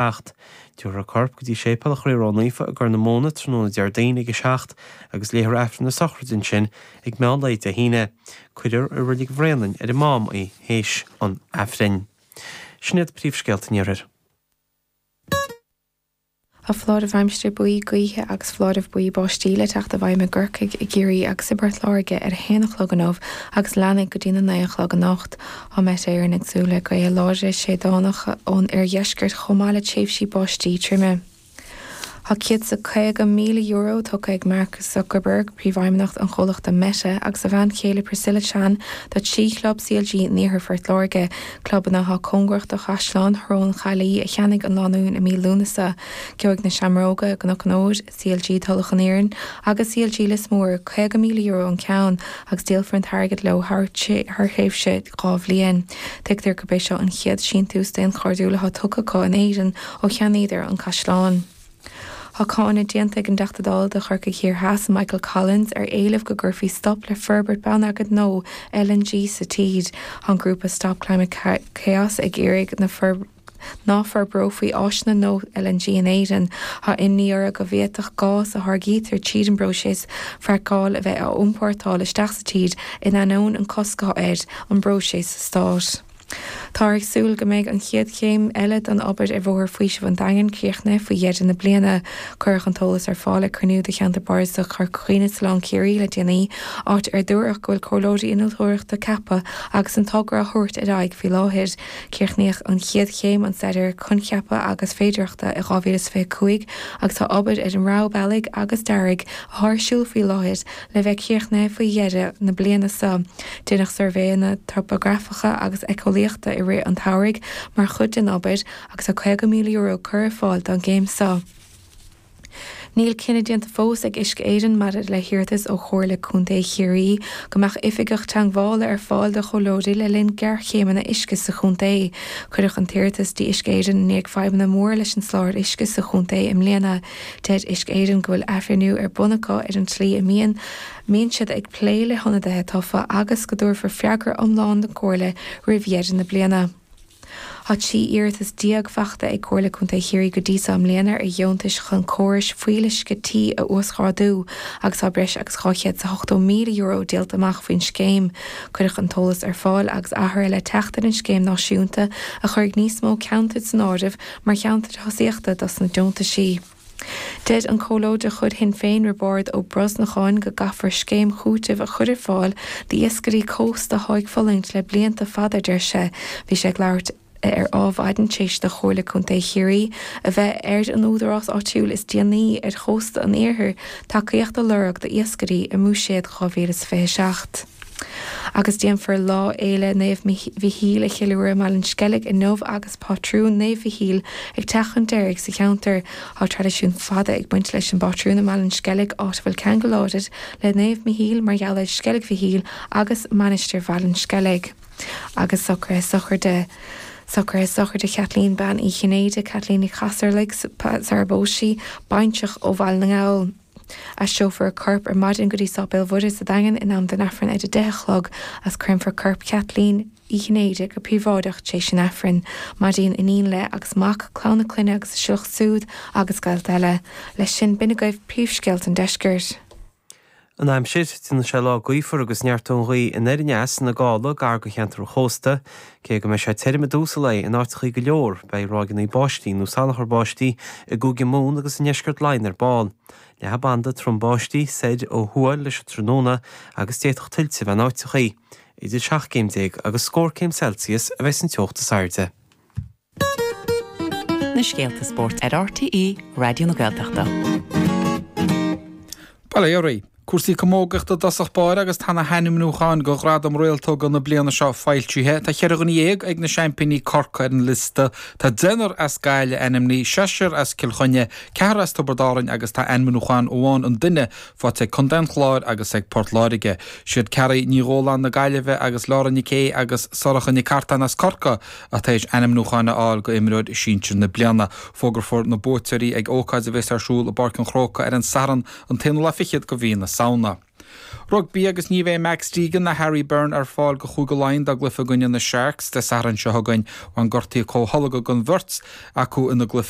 7. Tabharfar a corp go dtí Séipéal an Chroí Ró-Naofa i gCorr na Móna tráthnóna Déardaoin ag a 7 agus léifear Aifreann na sochraide ansin ag meán lae Dé hAoine. Cuirfear i Reilig Bhréanainn ar an Mám í théis an Aifrinn. Sin iad príomhscéalta an Iarthair. Tá foláireamh aimsire buí gaoithe agus foláireamh buí báistí le teacht i bhfeidhm i gCorcaigh, i gCiarraí agus i bPort Láirge ar 1 a chlog inniu agus leanfaidh go dtína 9 a chlog anocht. Tá Met Éireann ag súil le gaotha láidre séideánacha ón oirdheisceart chomh maith le tréimhsí báistí troime. Tá €150,000 tugtha ag Mark Zuckerberg, príomhfheidhmeannach an chomhlachta Meta, agus a bhean chéile Priscilla Chan do thrí chlub CLG in iarthar Phort Láirge, clubanna atá cóngarach do Chaisleán Shrón Chaillí a cheannaigh an lánúin i mí Lúnasa. Gheobhaidh na Seamróga, gCnoc an Fhóid, CLG Tulach an Iarainn agus CLG Lios Mór €50,000 an ceann agus díolfar an t-airgead leo thar thréimhse 2 bhliain. Tuigtear gurb é seo an chéad síntiús daonchairdiúil atá tugtha acu in Éirinn ó cheannaíodar an caisleán. Tá cáineadh déanta ag an dTeachta Dála do Chorcaigh Thiar Theas, Michael Collins, ar éileamh go gcuirfí stop le forbairt bonneagair nua LNG sa tír. Tá an grúpa Stop Climate Chaos ag iarraidh na ná forbrófaí áiseanna nua LNG in Éirinn. Tá imní orthu go bhféadfadh gás a tháirgítear tríd an bpróiseas fraiceáil a bheith á iompórtáil isteach sa tír in ainneoin an cosc atá ar an bpróiseas sa stát. Táthar ag súil go mbeidh an chéad chéim eile den obair ar Bhóthar Faoisimh an Daingin críochnaithe faoi dheireadh na bliana. Cuireadh an t-eolas ar fáil ag cruinniú de Cheantar Bardasach Chorca Dhuibhne sa Oileán Ciarraí le déanaí, áit ar dúradh go bhfuil comhairleoirí innealtóireachta ceaptha agus an togra á thabhairt ar aghaidh faoi láthair. Críochnaíodh an chéad chéim, an staidéar coincheapa agus féidearthachta, i 2025 agus tá obair ar an rogha bealaigh agus dearaidh atá ar siúl faoi láthair le bheith críochnaithe faoi dheireadh na bliana seo. Deineadh suirbhéanna topagrafacha agus éiceolaíochta i rith an tsamhraidh mar chuid den obair agus tá €50,000 curtha ar fáil don gcéim seo. Níl cinneadh déanta fós ag Uisce Éireann maidir le hiarratas ó Chomhairle Contae Chiarraí go mbeadh oifigeach teagmhála ar fáil do chomhairleoirí le linn géarchéimeanna uisce sa chontae. Cuireadh an t-iarratas dtí Uisce Éireann i ndiaidh fadhbanna móra leis an soláthar uisce sa chontae i mbliana. Deir Uisce Éireann go bhfuil athbhreithniú ar bun acu ar an tslí a mbíonn mbíonn siad ag plé le hionadaithe tofa agus go dtabharfar freagra iomlán don Chomhairle roimh dheireadh na bliana. Tá 13 iarratas faighte ag Comhairle Contae Chiarraí go dtí seo i mbliana ar dheontais chun córais fuíolluisce tí a uasghrádú agus tá breis agus €280,000 díolta amach faoin scéim. Cuireadh an t-eolas ar fáil agus athruithe le teacht ar an scéim náisiúnta a chuirfidh níos mó ceantair san áireamh mar cheantair thosaíochta dos na deontaisí. Deir an Comhairleoir de chuid Shinn Féin Roibeárd Ó Brosnacháin go gcaithfear scéim chúitimh a chur ar fáil d'iascairí cósta atá ag fulaingt le blianta fada a deir sé. Bhí sé ag labhairt ar Adhmhaidin tar éis do Chomhairle Contae Chiarraí a bheith ar an údarás áitiúil is déanaí ar chósta an iarthair tacaíocht a lorg d'iascairí i mBuiséad 2027. Agus déanfar Lá Fhéile Naomh Mhichíl a cheiliúradh i mBaile an Sceilg inniu agus pátrún Naomh Mhichíl ag teacht chun deiridh sa cheantar. Tá traidisiún fada ag baint leis an bpátrún i mBaile an Sceilg, áit a bhfuil ceangal láidir le Naomh Michíl mar gheall ar Sceilg Mhichíl agus Mainistir Bhaile an Sceilg. Agus socruithe sochraide Socruithe sochraide Chaitlín Bean Uí Chinnéide, Caitlín Ní Chasarlaigh, sar a bpós sí, baintreach ó Bhaile na nGall. Aistreofar a corp ar maidin go dtí Sáipéal Mhuire sa Daingean in am don Aifreann ar a 10 a chlog agus créamfar corp Chaitlín Uí Chinnéide go príobháideach tar éis an Aifrinn. Maidhcín, iníon le, agus mac, clann na clainne agus a sliocht súd agus gaolta eile. Leis sin, b'in agaibh príomhscéalta an deiscirt. An aimsir, Déanfaidh sé lá gaofar agus neartóidh an ghaoth anoir aneas ina gála gar do cheantar an chósta. Cé go mbeidh sé tirim i dtús an lae in áiteachaí go leor, beidh ráigeanna báistí nó salachar báistí i gCúige Mumhan agus i ndeisceart Laighean ar ball. Leathfaidh banda trom báistí soir ó thuaidh leis an tráthnóna agus d'fhéadfadh tuilte a bheith in áiteachaí. Idir 17 céim agus scór céim Celsius a bheidh san teocht is airde. Na scéalta spóirt ar RTÉ Raidió na Gaeltachta. Bail ó Dhia oraibh. Cúrsaí camógaíochta i dtosach báire agus tá na hainmniúcháin do Ghradam Réaltóga na bliana seo foilsithe. Tá cheithre dhuine dhéag ag na seaimpíní Corcaigh ar an liosta. Tá deichniúr as Gaillimh ainmnithe, seisear as Cill Chainnigh, ceathrar as Tiobraid Árainn agus tá ainmniúchán amháin an duine faighte ag Contae an Chláir agus ag Port Láirge. Siad Carrie Ní Dhóláin na Gaillimhe agus Laura Nic Aodha agus Sorcha Nic Artáin as Corcaigh atá tar éis ainmniúcháin a fháil go imreoir sinsir na bliana. Fógrófar na buaiteoirí ag ócáid a bheas ar siúl i bPáirc an Chrócaigh ar an Satharn an t-aonú lá fichead go mhí na Samhna. Rugbaí agus ní bheidh Max Deegan ná Harry Byrne ar fáil go Chúige Laighean dá gcluiche i gcoinne na Sharks Dé Sathairn seo chugainn. Bhain gortuithe comhtholgtha don bheirt acu ina gcluiche.